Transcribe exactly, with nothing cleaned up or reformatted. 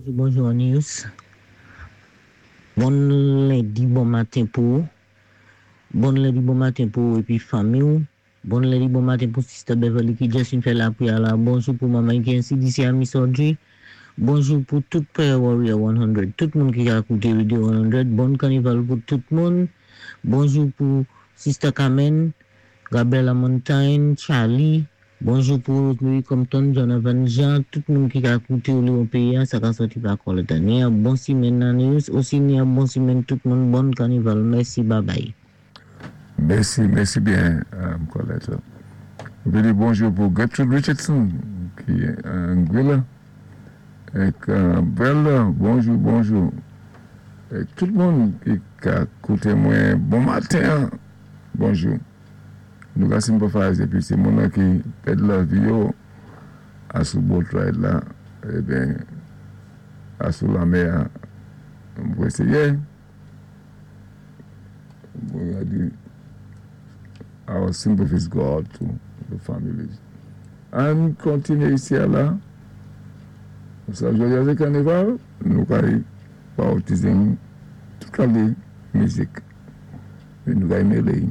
Bonjou Anius. Bon lendi, bon maten pou ou. Bon lendi, bon maten pou ou épi fanmi ou. Bon lendi, bon maten pou Sister Beverly ki just fè lapriyè la. Bonjou pou manman ki ensi disi a Miss Audrey. Bonjou pou tout Prayer Warrior san, tout moun ki ka kouté Radio san. Bon kanival pou tout moun. Bonjou pou Sister Carmen, Gabriela Montagne, Charlie. Bonjou pou Rosemary Compton, Jonathan Jean, tout moun ki ka kouté ou li péyi, sa ka sòti pa Colette. Ni bon simenn Anius, osi ni bon simenn tout moun, bon kanival. Mèsi, bye bye. Mèsi, mèsi byen, um, Colette. Mwen di bonjou pou Gertrude Richardson, ki Anguilla. Ek uh, Brenda, bonjou, bonjou. É tout moun ki ka kouté mwen, bon maten, bonjou. Nou ka sympathize épi sé moun ki pèd lavi yo asou boat ride la, eben, asou lanmè, mwen éséyé. Mwen di, our sympathies go out to the families. An kontinyé isi la. Sa, jodi a sé kanival, nou kay baptize tout kalté mizik. É nou kay mélé.